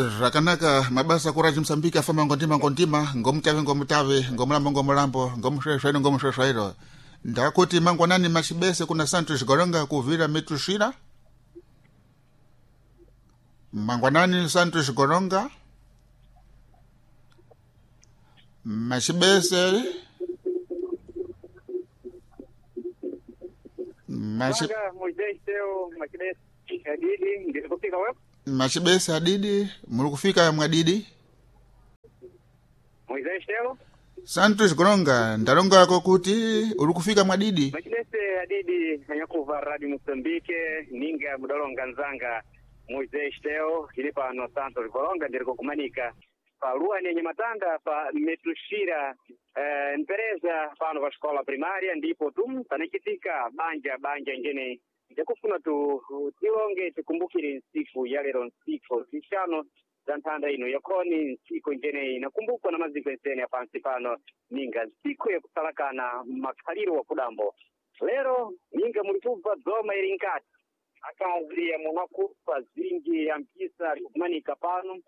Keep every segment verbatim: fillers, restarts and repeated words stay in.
Zvakanaka mabasa kuraji Msambiki afamba ngondima ngondima ngomutave ngomutave ngomulambo ngomulambo ngomusvesvairo ngomusvesvairo ndakuti mangwanani machibese kuna Santos Goronga kuvira Metushira. Mangwanani Santos Goronga machibese machi, Manga Moisés Teo Machibese Adidi ndiri kufika wepo machibese adidi muri kufika mwadidi Moisés Teo Santos Goronga ndalongako kuti uri kufika mwadidi Machibese Adidi anyakuva Radio Mozambique ninga mudalonga nzanga Moisés Teo ili pano Santos Goronga ndiri kukumanika pa lua nenye matanda pa Metushira eh, mpereza pano pa escola primária ndipo tum panachitika banja banja ngene ndikufuna tu tilonge tikumbukire nsiku ya lero nsiku zixano za nthanda ino yakhoni nsiku njeneyi inakumbukwa na maziko ensene ya pansi pano ninga nsiku yakusalakana makhaliro wa kudambo lero ninga muli kubva dzoma ili nkati akazi yamunakufa zingi ya mpisa likumanika pano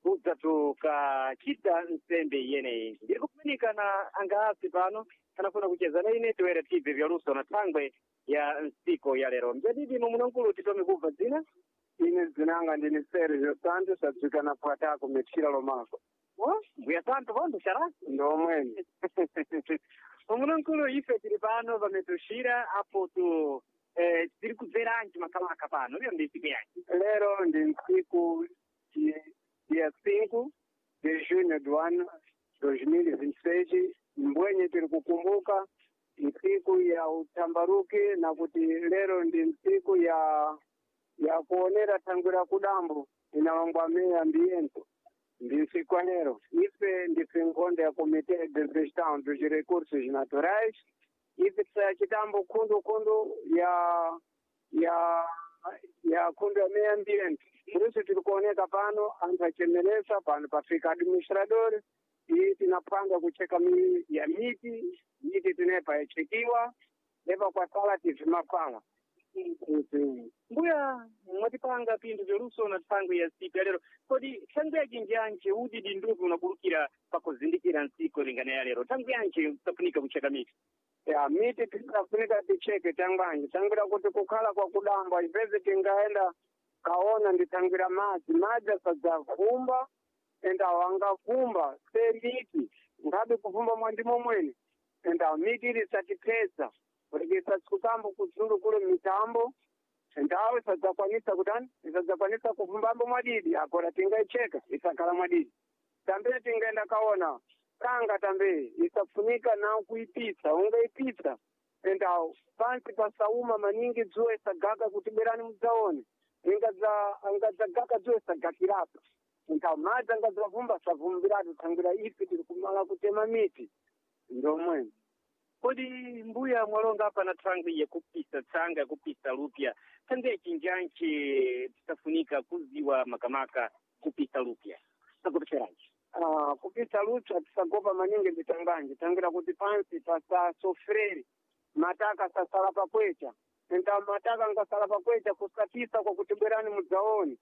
kudza tukachita nsembe iyeneyi ndiri kumanika na angaasi pano anafuna kucheza na ine tiwere tibve vyaluso na thangwe ya nsiku ya lero mjadidi mumunankulu titome kubva dzina Ine dzinanga ndini Sergio Santos adzikana pwatako metchira lomako Oh, mbuya santo vondo xará ndomweni mumunankulu ife tiri pano pametushira apo tu eh, tiri kubveranji makalaka pano lero ndi nsiku yanji lero ndi ntsiku di- dia cinco de junho do ano dois mil e vinte e seis mbwenye tiri kukumbuka ntsiku ya utambaruki na kuti lero ndi ntsiku ya ya kuonera thangwi la kudambo inalongwa meya ambiente ndi ntsiku ya lero ife ndife nkhonde ya Comité de Gestão dos Recursos Naturais ife tisayachitambo khundukhundu ya ya ya khundu ya meio ambiente por isso tiri kuoneka pano anthu achemeresa pano pafika administrador iyi tinapanga kucheka mi ya miti miti tinepa yachekiwa lepa kwasala tivimapala mbuya mwatipanga pinthu vyaluso na thangwe ya nsiku ya lero kodi thangwe yachinji yanji udidi nduvi unakulukira pakuzindikira nsiku lingana ya lero thangwe yanji safunika kucheka miti ya miti tisafunika ticheke tangwanji tangira kuti kukhala kwa kudamba ipeze tingaenda kaona nditangira madzi madzi asadzavumba enda wangavumba se miti ngabe kuvumba mwandimo mwene enda miti ili isatipeza kurekesa sikutambo kudzulu kule mitambo endawo isadzakwanisa kutani isadzakwanisa kuvumbambo mwadidi akora tingaicheka isakhala mwadidi tambe tingaenda kaona kanga tambe isafunika na kuipitsa ungaipitsa enda pansi pasauma maningi dzuwa isagaga kuti bwerani mudzaone ingadza angadzagaga dzuwa isagakirapa enda madzi angadzavumba savumbiratu thangira ife tiri kumala kutema miti ndomweni kodi mbuya mwalonga apa na thangwe yakupisa tsanga yakupisa lupya thangwe yachinjanji tisafunika kuziwa makamaka kupisa lupya sakupecheranji Ah, kupisa lutsva tisagopa maningi nditanganji tangira kuti pansi pasasofreri mataka sasala pakwecha enda mataka ngasala pakwecha kusapisa kwakuti bwerani mudzaone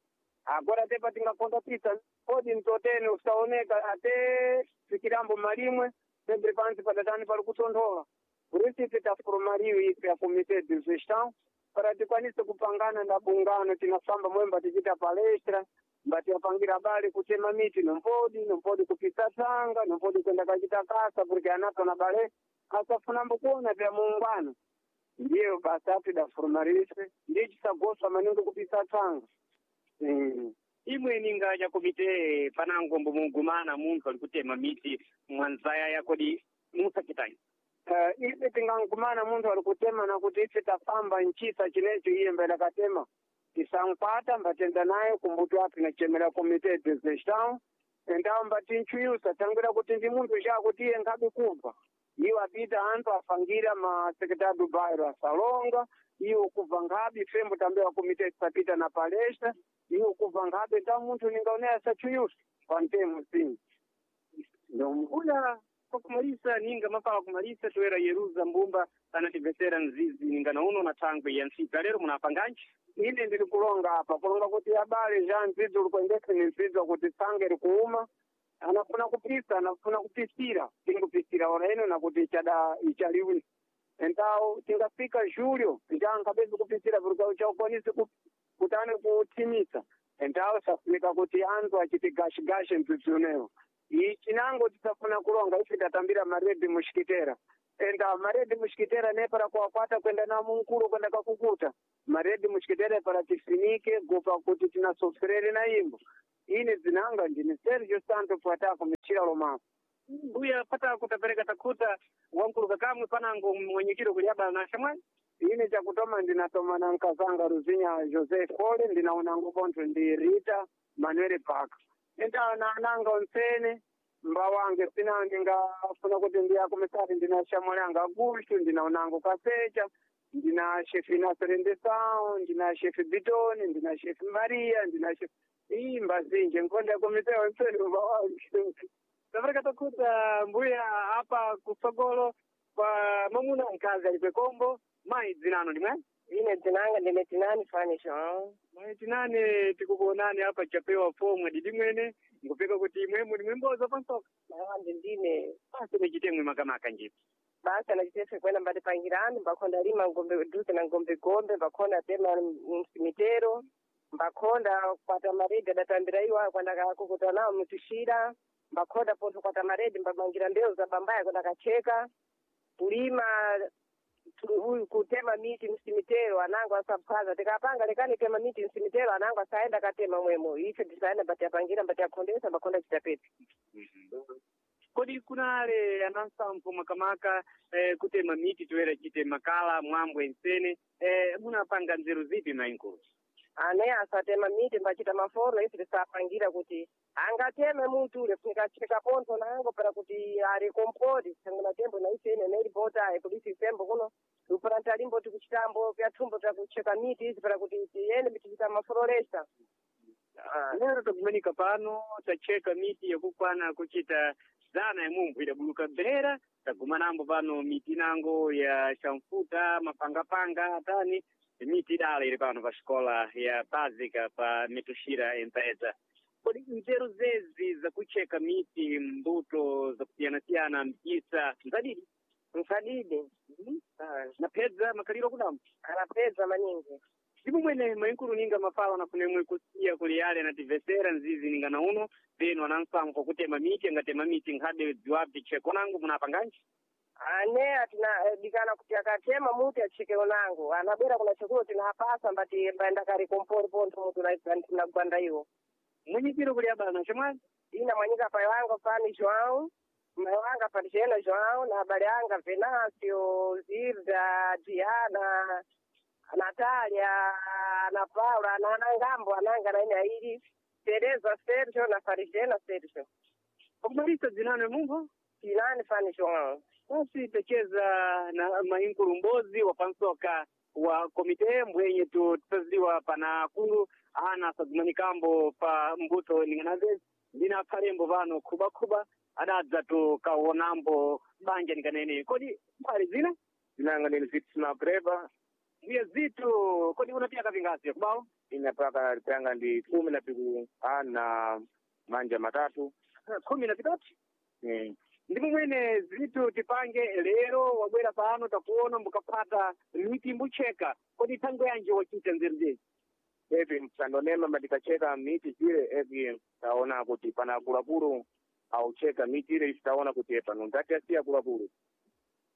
agora tepa tingakonda pisa kodi mtotene usaoneka ate fikirambo malimwe sempre pansi padatani pali kutonthola kurisife tafurumariwe ife ya Comité de Gestão para tikwanise kupangana na bungano tinafamba mwemba tichita palestra mbatiyapangira bale kutema miti nompodi nompodi kupisa tsanga nompodi kwenda kachita kasa porque anato na bale asafunambo kuona vya muungano ndiyo basa atidafurumarise ndiye chisagoswa maningi kupisa tsanga mm. imwe ninga ya komite panango mbomugumana munthu ali kutema miti mwanzaya yakodi musachitanyi Uh, ife tingankumana munthu ali kutema nakuti ife tafamba nchisa chinecho iye mbele katema tisankwata mbatenda naye kumbuto api nachemera Comité de Gestão endawo mbatinchuyusa tangira kuti ndi munthu chakuti iye nkhabe kubva iwo apita anthu afangira ma secretary do bairro asalonga iwo kubva nkhabe fembo tambewa komite tisapita na palestra iwo kubva nkhabe nda munthu ningaone asachuyusa pantemo sim mbuya Kwa kumalisa ninga mapala kumalisa toera Yeruza Mbumba anativesera nzizi ninga nauno na thangwe ya ntsika lero munapanganji Ine ndiri kulonga apa kulonga kuti abale ja nzidzo likuendese ni nzidzo kuti tsange likuuma anafuna kupisa anafuna kupisira tingupisira ora ino nakuti ichada ichaliwi entawo tingafika julyo njankapezi kupisira purikau chaukwanisi kutani kuthimisa entawo safunika kuti anthu achiti gashigashi mdzidzi unewo ichinango tisafuna kulonga ife tatambira maredi mushikitera enda maredi mushikitera nepara kuwakwata kwenda na munkulu kwenda kakukuta maredi mushikitera para tifinike gopa kuti tinasoferere na imbo ine zinanga ndine Sergio Santo Patako mchira lomako mbuya patako tapereka takuta wankulu kakamwe panango mwenyekiro kuliaba na shamwani ine chakutoma ndinatoma na nkazanga Ruzinya Jose Kole ndinaonango pontho ndi Rita Manuel Park enda na ananga onsene mbawange sina ndingafuna kuti ndiyakumisati ndina shamwali anga Augusto ndinaonango Kasecha ndina shefi Naserendesao ndina shefi Bitoni ndina shefi Maria ndina shefi iyi mbazinje nkonda kumisea onsene mbawange tapereka takuta mbuya apa kusogolo pa mamuna nkazi alipe kombo mayi dzinano ndimwe Ine dzinanga ndine Tinani Fani João. mayi Tinani tikukuonani apa chapewa fomu didi mwene ngupeka kuti imwemo ndimwe mboza pansoka Nawandi ndine basi nichitemwe makamaka njipi basa nachitefe kwena mbatipangirani mbakhonda lima ngombe duze na ngombe gombe mbakhonda tema msimitero mbakhonda kwata maredi adatambira iwo kwenda kakukuta nawo mtushira mbakhonda pontho kwata maredi mbamangira mbewu za bambaya kwenda kacheka kulima tu- uyu kutema miti msimitero anango asaphwaza tikapanga lekani tema miti msimitero anango asaenda katema mwemo ife tisaenda mbatiapangira mbatiakhondesa mbakhonda chitapeti kodi kunale anansampo makamaka eh, kutema miti toera chite makala mwambo ensene eh, munapanga nzeru zipi mainkulu ane asatema miti mbachita maforo ife tisapangira kuti angateme mutu ule funika cheka pontho nango para kuti ali kompoti sangana tembo na ife ine nelipota ayi polisi isembo kuno upuranta limbo tikuchitambo pyathumbo takucheka miti izi para kuti tiyende tichita maforolesa lero takumanika pano tacheka miti yakukwana kuchita zana yamumphu idabuluka bera tagumanambo pano miti nango ya shamfuta mapangapanga atani miti idala ili pano pa xikola ya básica pa mituxira empresa kodi nzeru zezi zakucheka miti mbuto zakusiyanasiyana mchisa nzadidi msadidi napedza makaliro kudambo anapedza maningi ndipo mwene mainkulu ninga mafala nafunemwe kusiya kuli yale anativesera nzizi ninga nauno penu anansambo kutema miti angatema miti nkhade dziwapi cheko nangu munapanganji ane atina dikana kuti akatema muti achike unango anabwera kuna chikulo tinapasa mbati mbaenda kari kompori pontho mutu tinagwanda iwo mwenyekiro kuli abana chemwani ina mwanyika pai wanga fani João mai wanga Patijena João na abale anga Venancio Zilda Diana Natalia na Paula na anangambo ananga na ine aili Tereza Sergio na Farijena Sergio pakumalisa dzinano mumpho Tinani Fani João basi tacheza na mainkulu mbozi wa pansoka wa komite mbwenye tu tisaziwa pana akulu ana sadzimanikambo pa mbuto ninganazezi ndina aphalembo pano khubakhuba adadza tukaonambo banja ninganene kodi mbali zina Zinanga ndine Zitu Magreba mbuya zitu kodi unapiyaka vingasi kubawo ine paka lipyanga ndi kumi na piku ana manja matatu khumi na vitatu mm. ndipo mwene zitu tipange lero wabwera pano takuona mbukapata miti mbucheka kodi thango yanje wachita nzeru zezi evi msandonema matikacheka miti zile evi taona kuti pana akuluakulu aucheka miti ile ife taona kuti pano ndati asiya akuluakulu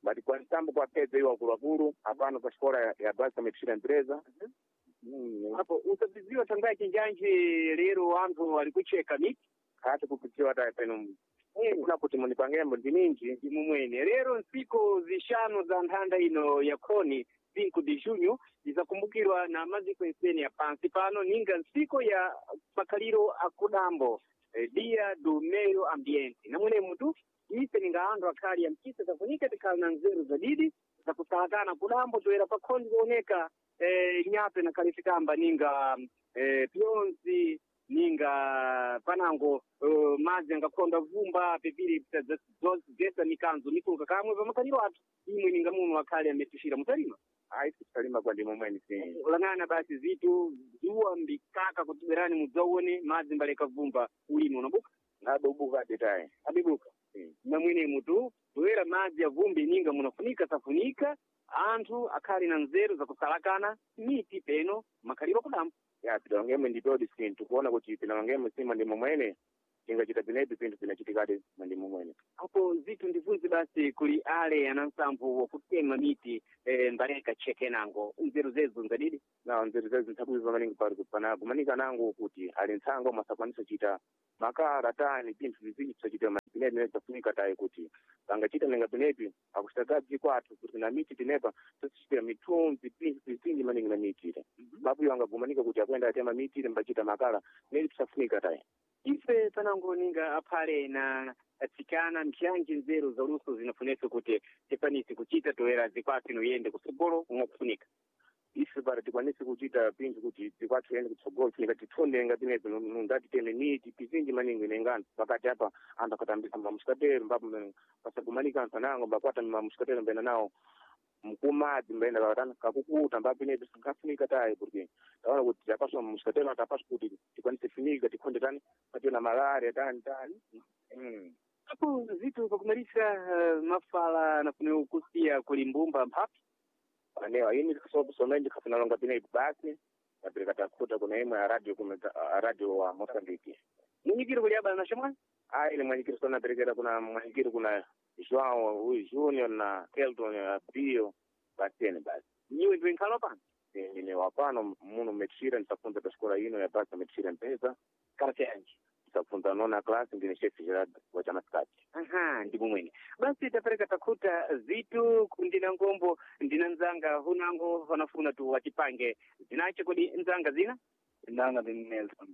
bati kwa nsambo kwa pedza iwo akuluakulu apano pa xikola ya, ya basa metixira empresa mm. apo usabiziwa thango yake njanji lero anthu ali kucheka miti khati kupidziwa ta peno kuna kuti munipangembo ndi minji ndimo mwene lero nsiku zixanu za nthanda ino ya khoni cinco de junho izakumbukirwa na maziko ensene ya pansi pano ninga nsiku ya makhaliro akudambo eh, dia do meio ambiente namwene mutu ife ninga anthu akhali ya mchisa zafunika tikhala na nzeru zadidi zakusalatana kudambo toera pakhoni kuoneka eh, nyape na khalifikamba ninga eh, pionzi Ninga panango uh, madzi angakhonda vumba pepiri zesa mikanzo mikuluka kamwe pamakaliro athu. Imwe ninga muno akhale ametushira mutalima. Ayi, tisalima kwa ndimo mwene si. Lang'ana basi zitu zuwa mbikaka kuti bwerani mudzaone madzi mbaleka vumba, ulimi unabuka. Ngadobuka detaye. Abibuka. Mm. Namwene mutu toera madzi avumbi ninga munafunika safunika anthu akhali na nzeru zakusalakana miti peno makhaliro kudambo. Ya, pilongemo nditodi sinthu kuona kuti pilongemo si mwandimo mwene tingachita pinepi pinthu pinachitikadi mwandimo mwene. Apo zitu ndibvunze basi kuli ale ana nsampho wakutema miti eh, mbaleka chekenango nzeru zezo nzadidi. Na nzeru zezi nthakuiva maningi pali pana kumanika nango kuti ali ntsango masakwanisa chita makala tani pinthu vizinji pisachita pinepi nezafunika tayi kuti pangachita ninga pinepi akuchitagazi kwathu kuti na miti pinepa tosichitira mithunzi pinthu vizinji maningi na miti ile babuyo angagumanika kuti akwenda atema miti ile mbachita makala neli pisafunika tayi. Ife panango ninga aphale na atsikana mpyanji nzeru za luso zinafunesa kuti tikwanise kuchita toera zikwathu inoyende kusogolo mwakufunika. Ife para tikwanise kuchita pinthu kuti tikwathu ende kutsogolo funika titondenga pinepi nundatiteme miti pizinji maningi nengano pakati apa anthu akatambisa mamusikatero mbapo pasagumanika anthu anango mbakwata mamusikatero mbena nawo mkumadzi mbaenda kakatana kakukuta mbapinepi sinkafunika tayi kuti taona kuti tapaswa mamusikatero atapaswa kuti tikwanise funika tikhonde tani pationa malaria tani tani mm. Apo zitu pakumalisa uh, mafala anafunika kusiya kuli mbumba mphapi. Anewa ini somene ndikhafuna longa pinepi basi tapereka takhuta kuna imwe ya radio kuna a radio wa Mozambique. Munyikiro kuli abala na shamwani. Ayi, ni mwanyikiro sona perekera kuna mwanyikiro kuna João huyu Junior na Kelton na Bio basene basi. Nyiwe ndiwe nkhalo pano. Ine wapano muno metshira ndisafunza pa xikola ino ya basa metshira mpesa. Kalasi yanji. Ndisafunza nona class, ndine chef Gerard wa chamasikati. Aha, ndipo mwene basi tapereka takhuta zitu ndina ngombo ndina nzanga hunango vanafuna tu wachipange zinacho kodi nzanga zina. Ndanga ndi Nelson.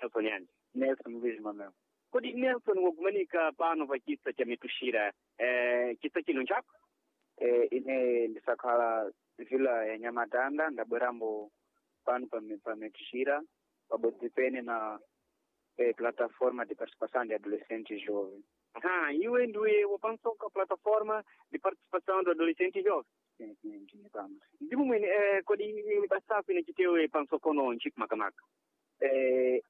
Nelson yani. Nelson Luiz Manuel. Kodi Nelson wagumanika pano pa chisa cha mitushira eh, chisa chino nchako. Eh, ine ndisakhala vila ya Nyamatanda, ndabwerambo pano pa pa Metixira pabodzi pene na eh, plataforma de participação de adolescentes jovens. Aha, iwe ndiwe wapansoka plataforma de participação do adolescente jovem. Sim, sim, ndine pano. Ndipo mwene eh, kodi basapo inachitewe pansokono nchiku makamaka. Eh,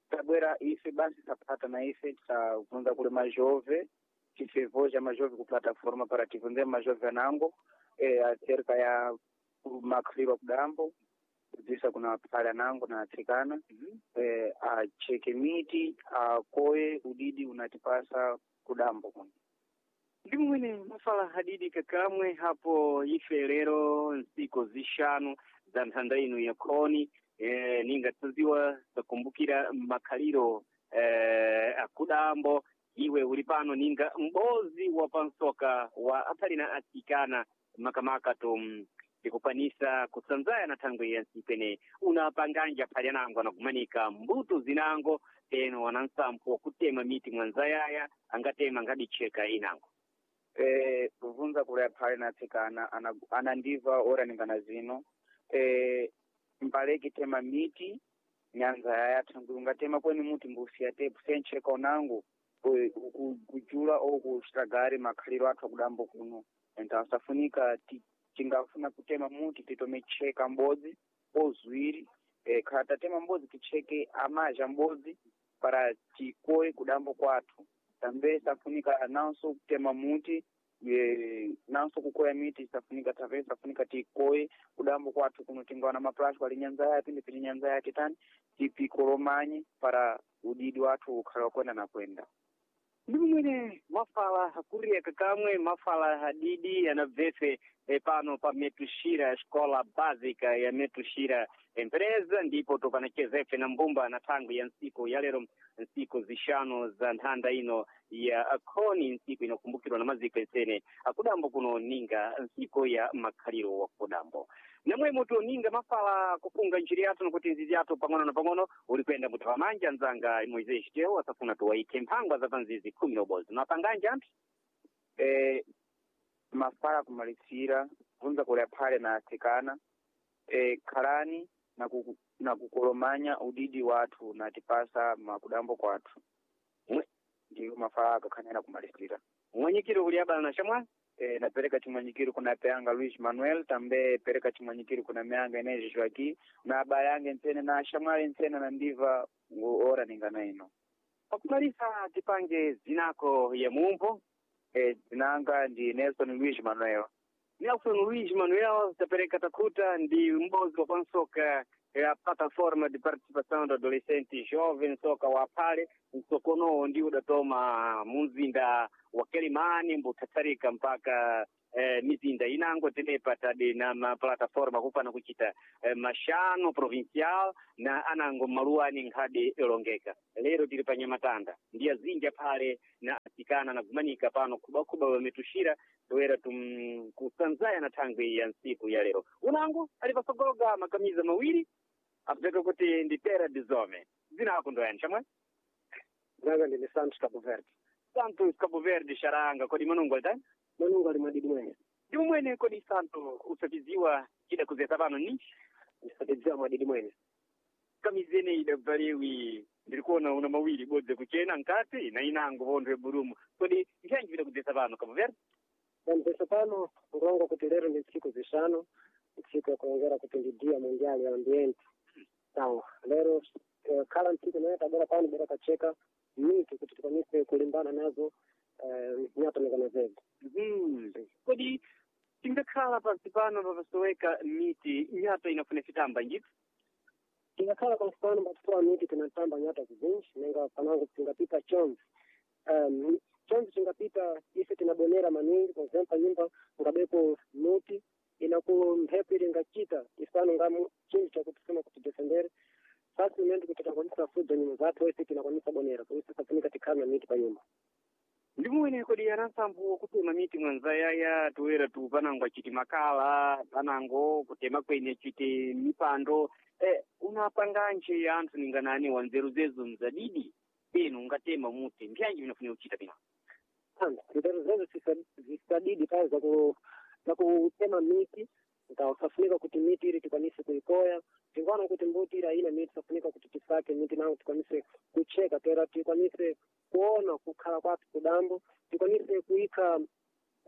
tabwera ife basi tapata na ife tisabvunza kuli majove tifevoja majove ku plataforma para tibvunze majove anango eh, acerca ya makhaliro kudambo kudzisa kuna aphale anango na atsikana mm -hmm. eh, acheke miti akoye udidi unatipasa kudambo kuno. Ndipo mwene mafala hadidi kakamwe hapo ife lero nsiku zishanu za nthanda ino ya khoni e, ninga taziwa takumbukira makhaliro e, akudambo. Iwe uli pano ninga mbozi wa pansoka wa aphali na atsikana makamaka tu ndikukwanisa kusanzaya na thangwe ya nsipene unapanganja aphali anango anagumanika mbuto zinango peno wanansampho wakutema miti mwanzayaya angatema ngadicheka inango. Eh, kuvunza kuli aphale na atsikana ana- anandiva ora ningana zino eh, mbaleki tema miti nyanza yaya thangwi ungatema kweni muti mbusiya tepu sencheka unango eh, ku- kujula ou kuxitagari makhaliro athu akudambo kuno enta asafunika ti- tingafuna kutema muti titome cheka mbodzi ozuwiri eh, khala tatema mbodzi ticheke amazha mbodzi para tikoye kudambo kwathu tambe safunika nanso kutema muti eh, nanso kukoya miti safunika tambe safunika tikoye kudambo kwathu kuno tingawana maplasco ali nyanza yapi ndipiti nyanza yake tani tipikolomanye para udidi wathu ukhale wakwenda na kwenda. Ndipo mwene mafala hakuria kakamwe mafala hadidi anabvefe eh, pano pa Metushira escola básica ya Metushira empresa ndipo topanachezefe na mbumba na thangwi ya nsiku ya lero nsiku zishanu za nthanda ino ya khoni nsiku inokumbukirwa na maziko ensene akudambo kuno ninga nsiku ya makhaliro wa kudambo namwemo tuninga mafala kufunga njiri yathu nokuti nzizi yathu pang'ono na pang'ono uli kuyenda muti pamanja nzanga Moisés Teo asafuna tuwaike mphangwa za panzizi khumi na ubodzi napanganja anthu. Eh, mafala kumalisira kubvunza kuli aphale na atsikana eh, khalani na ku- Na kukolomanya udidi wathu na tipasa makudambo kwathu. Ndiyo mafala akakhanena kumalisira. Mwanyikiro kuli abala na shamwa? E, napereka chimwanyikiro kuna peanga Luis Manuel, tambe pereka chimwanyikiro kuna meanga Inês Joaquim, na abala yange ntsene na shamwali ntsene na ndiva ora ningana ino. Pakumalisa tipange zinako ya mumpo. E, zinanga ndi Nelson Luis Manuel. Nelson Luis Manuel tapereka takuta ndi m'bodzi wa pansoka ya plataforma de participação do adolescente jovem soka wa pale msokonowo ndi udatoma munzinda wa Quelimane mbuthatsarika mpaka eh, mizinda inango tenepa tadi na maplataforma kupana kuchita eh, mashano provincial na anango maluani nkhadi ilongeka. Lero tili pa Nyamatanda ndi azinja phale na asikana na kumanika pano khubakhuba wametushira toera tum kusanzaya na thangwi ya nsiku ya lero. Unango ali pasogologa makamiza mawiri apeteka kuti ndi Terra de Zome. Dzina lako ndoyani chamwe? Nanga ndine Santos Cabo Verde. Santos Cabo Verde xaranga kodi manungo alitani? Manungo ali mwadidi mwene. Ndi mwene kodi Santo usapiziwa chida kuzesa pano ni? Ndisapiziwa mwadidi mwene. Kamizene idabvalewi ndiri kuona una mawiri bodze kuchena nkati na inango vontho eburumu. Kodi nthanji vida kudzesa pano Cabo Verde? Pampeso pano nkulonga kuti lero ndi ntsiku zishanu, ntsiku yakulongera kuti ndi dia mundial ya ambiente. Sawa, lero eh, khala ntsiku naye tabora pano bora kacheka miti kuti tikwanise kulimbana nazo eh, nyatomekana zedu. Mm. Kodi tingakhala pansi pano papasoweka miti nyata inafuna fitamba njiti? Tingakhala pansi pano patitowa miti tinatamba nyata zizinji nenga panango tingapita chonzi. Um, chonzi chingapita ise tinabonera maningi kwa example nyumba ngabepo muti inaku mphepo ile ingachita isano ngamu chinthu chakutisema kuti defendere facilmente kuti takwanisa fudza nyumba zathu ese tinakwanisa bonera por isso safunika tikhala na miti pa nyumba. Ndimwene kodi anansambo kutema miti mwanzayaya toera tu panango achiti makala panango kutema kwene achiti mipando eh, unapanganje anthu ninganani wanzeru zezo mzadidi peno ungatema muti mbyanji vinafuna kuchita pino? Nzeru zezo zisadidi pale zaku zakutema miti safunika kuti miti ili tikwanise kuikoya tingaona kuti mbuti ili haina miti safunika kuti tisake miti nango tikwanise kucheka tera tikwanise kuona kukhala kwathu kudambo tikwanise kuika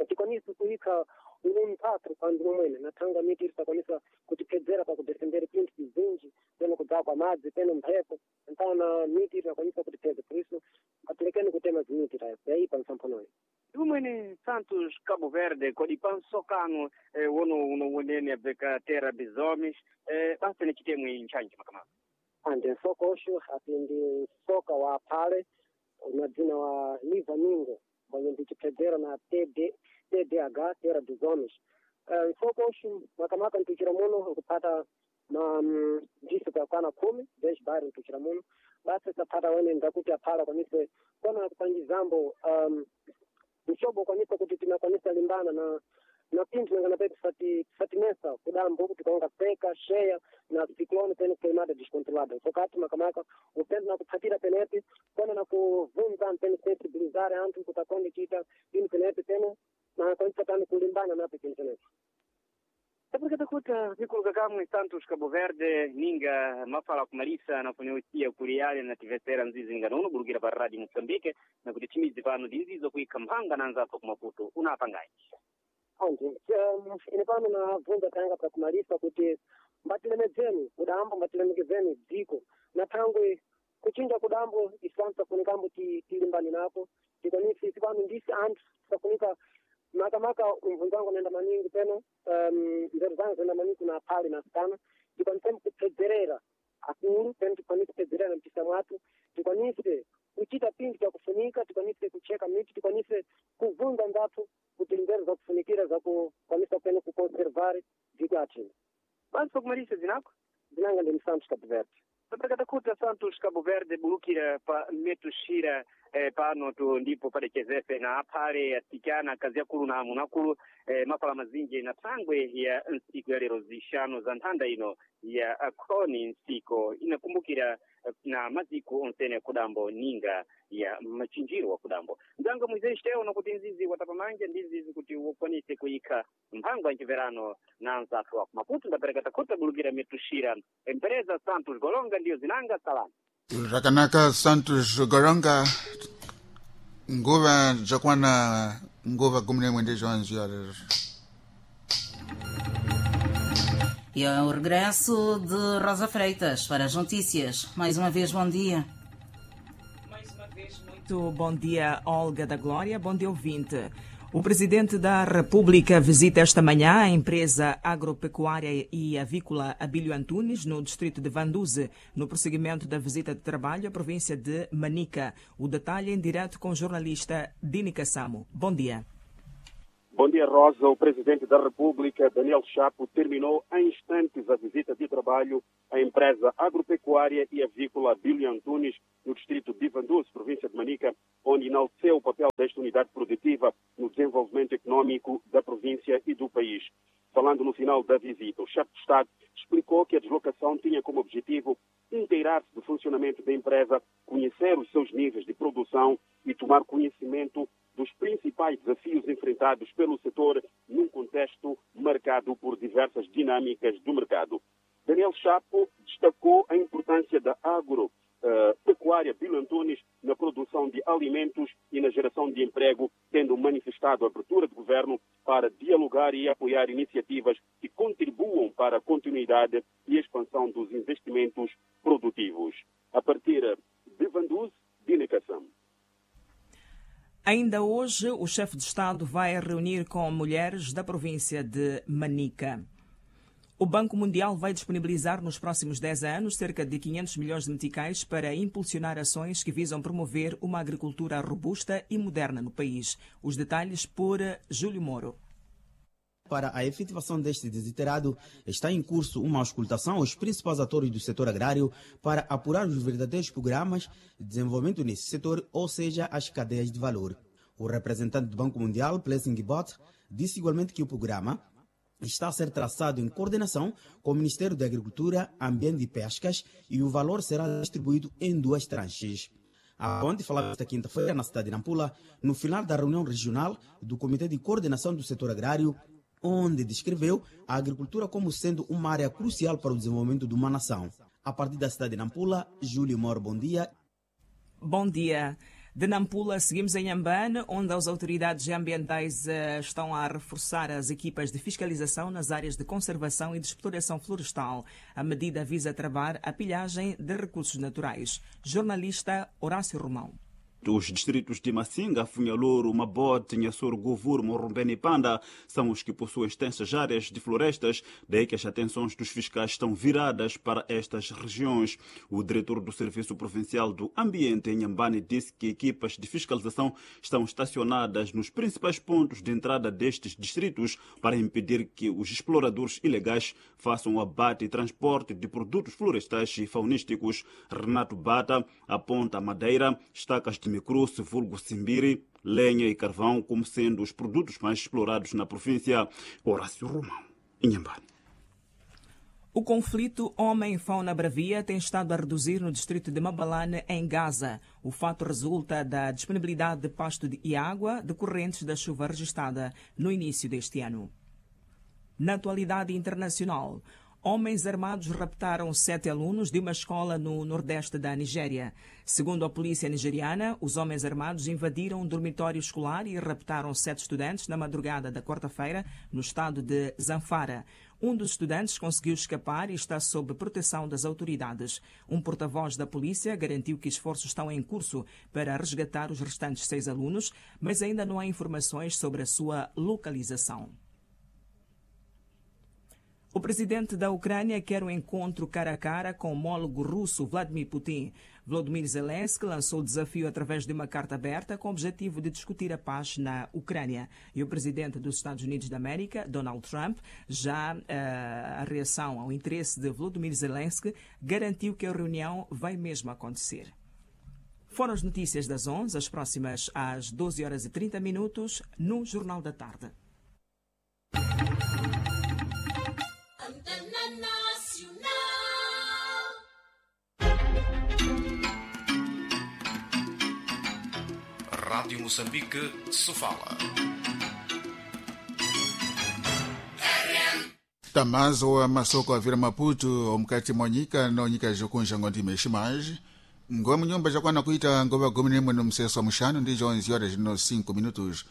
tikwanise kuika umphatho pandu momwene nathanga miti ili sakwanisa kutipedzera pakudefendera pinthu bizinji peno kudzaa kwa madzi peno mphepo mpana miti ili sakwanisa kutipedza por isso atilekeni kutema zimiti tayo yaipa msamphonoyo. Ndimwene Santos Cabo Verde kodi pansokano eh, wono unowonene abveka Terra dos Homens eh, basi ni chitemwe nchanji makamaka. Andi nsoko osho ati ndi nsoka wa phale una dzina wa Liva Mingo mwenye ndichipedzera na T D T D H Terra dos Homens. Uh, nsoko osho makamaka ntuchira muno nkupata ma ndiso kakwana khumi dez bairro ntuchira muno basi sapata wene ndakuti aphala kwanise kona kupangizambo um, mshobo kwanisa kuti tinakwanisa limbana na na pinthu nangana pe tisati tisatinesa kudambo kuti kaonga seka sheya na ciclone pene queimada descontrolada sokati makamaka upendo na kuphatira penepi kona na kuvunza pene sensibilizare anthu kuti akonde chita pinthu penepi pene na kwanisa tani kulimbana napo pinthu penepi. Tapurikata kuta vikuluka kamwe Santos Cabo Verde ninga mafala kumalisa nafuneusiya kuli ale na tivesera nzizi ninganono bulukira pa Radio Moçambique na kuti timizi pano ndi nzizo kuikha mphanga na anzathu ku Maputo unapangayi. Andi um, ine pano nabvunza tanga pakumalisa kuti mbatilemedzeni kudambo mbatilemekezeni dziko na thangwe kuchinja kudambo isanu tisafunikambo tilimbani nako tikwanisi isi pano ndisi anthu tisafunika makamaka umvunzo wangu naenda maningi peno um, nzeru zangu zinaenda maningi kuna aphale na asikana tikwanise kupedzerera akulu peno tikwanise kupedzerera mpisa mwathu tikwanise kuchita pinthu chakufunika tikwanise kucheka miti tikwanise kuvunza nzathu kuti nzeru zakufunikira zakukwanisa peno kukonservare dziko athina. Basi pakumalisa zinako? Zinanga ndi Santos Cabo Verde. Tapakatakuta Santos Cabo Verde bulukira pa metushira eh, pano tu ndipo padechezese na aphale asikana akazi akulu na amuna akulu eh, mafala mazinji na thangwe ya nsiku ya lero zishanu za nthanda ino ya akhoni nsiko inakumbukira Na maziko onsene kudambo ninga ya machinjiro wa kudambo. Nzanga Moisés Teo nokuti nzizi watapamanja ndi nzizi kuti ukwanise kuyika mphango ya nchiverano na nzathu wa Maputo. Ndapereka takhuta bulukira mitushira empresa Santos Golonga ndiyo zinanga salani. Zvakanaka, Santos Goronga. Nguva dzakwana nguva gumi nemwe ndizvonzi. E é o regresso de Rosa Freitas para as notícias. Mais uma vez, bom dia. Mais uma vez, muito bom dia, Olga da Glória. Bom dia, ouvinte. O presidente da República visita esta manhã a empresa agropecuária e avícola Abílio Antunes, no distrito de Vanduze, no prosseguimento da visita de trabalho à província de Manica. O detalhe em direto com o jornalista Dini Cassamo. Bom dia. Bom dia, Rosa. O presidente da República, Daniel Chapo, terminou em instantes a visita de trabalho à empresa agropecuária e avícola Abílio Antunes, no distrito de Vanduze, província de Manica, onde enalteceu o papel desta unidade produtiva no desenvolvimento econômico da província e do país. Falando no final da visita, o chefe de Estado explicou que a deslocação tinha como objetivo inteirar-se do funcionamento da empresa, conhecer os seus níveis de produção e tomar conhecimento dos principais desafios enfrentados pelo setor num contexto marcado por diversas dinâmicas do mercado. Daniel Chapo destacou a importância da agropecuária Abílio Antunes na produção de alimentos e na geração de emprego, tendo manifestado a abertura do governo para dialogar e apoiar iniciativas que contribuam para a continuidade e expansão dos investimentos produtivos. A partir de Vanduze, Dina Cassam. Ainda hoje, o chefe de Estado vai reunir com mulheres da província de Manica. O Banco Mundial vai disponibilizar nos próximos dez anos cerca de quinhentos milhões de meticais para impulsionar ações que visam promover uma agricultura robusta e moderna no país. Os detalhes por Júlio Moro. Para a efetivação deste desiderado, está em curso uma auscultação aos principais atores do setor agrário para apurar os verdadeiros programas de desenvolvimento nesse setor, ou seja, as cadeias de valor. O representante do Banco Mundial, Blessing Bot, disse igualmente que o programa está a ser traçado em coordenação com o Ministério da Agricultura, Ambiente e Pescas e o valor será distribuído em duas tranches. A Ponte falava esta quinta-feira na cidade de Nampula, no final da reunião regional do Comitê de Coordenação do Setor Agrário, onde descreveu a agricultura como sendo uma área crucial para o desenvolvimento de uma nação. A partir da cidade de Nampula, Júlio Moro, bom dia. Bom dia. De Nampula, seguimos em Inhambane, onde as autoridades ambientais estão a reforçar as equipas de fiscalização nas áreas de conservação e de exploração florestal. A medida visa travar a pilhagem de recursos naturais. Jornalista Horácio Romão. Os distritos de Massinga, Funhalouro, Mabote, Inhassoro, Govuro, Morrumbene e Panda são os que possuem extensas áreas de florestas, daí que as atenções dos fiscais estão viradas para estas regiões. O diretor do Serviço Provincial do Ambiente em Inhambane disse que equipas de fiscalização estão estacionadas nos principais pontos de entrada destes distritos para impedir que os exploradores ilegais façam o abate e transporte de produtos florestais e faunísticos. Renato Bata aponta madeira, estacas de microço, vulgo simbiri, lenha e carvão como sendo os produtos mais explorados na província. Horácio Romão, Inhambane. O conflito homem-fauna bravia tem estado a reduzir no distrito de Mabalane, em Gaza. O fato resulta da disponibilidade de pasto e água decorrentes da chuva registrada no início deste ano. Na atualidade internacional, homens armados raptaram sete alunos de uma escola no nordeste da Nigéria. Segundo a polícia nigeriana, os homens armados invadiram um dormitório escolar e raptaram sete estudantes na madrugada da quarta-feira, no estado de Zamfara. Um dos estudantes conseguiu escapar e está sob proteção das autoridades. Um porta-voz da polícia garantiu que esforços estão em curso para resgatar os restantes seis alunos, mas ainda não há informações sobre a sua localização. O presidente da Ucrânia quer um encontro cara a cara com o homólogo russo Vladimir Putin. Volodymyr Zelensky lançou o desafio através de uma carta aberta com o objetivo de discutir a paz na Ucrânia. E o presidente dos Estados Unidos da América, Donald Trump, já uh, a reação ao interesse de Volodymyr Zelensky, garantiu que a reunião vai mesmo acontecer. Foram as notícias das onze, as próximas às doze horas e trinta minutos, no Jornal da Tarde. Antena Nacional. Rádio Moçambique, Sofala. Tamazo wa masoko avira Maputo omukati mwa nyika no nyika jokunja ngondime ximaji ngomu nyumba jakwana kuita ngova gumi nemwe no mseso wa muxano ndi onze horas no cinco minutos.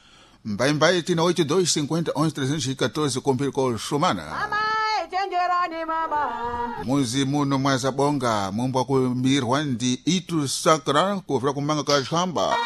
Mbaimbai tina oito dois cinquenta onze trezentos e catorze kumpiri ko xumana. Chenjerani mama. Muzi muno mwazabonga mumbo kumirwa ndi itu sacra kuvira kumanga ka xamba.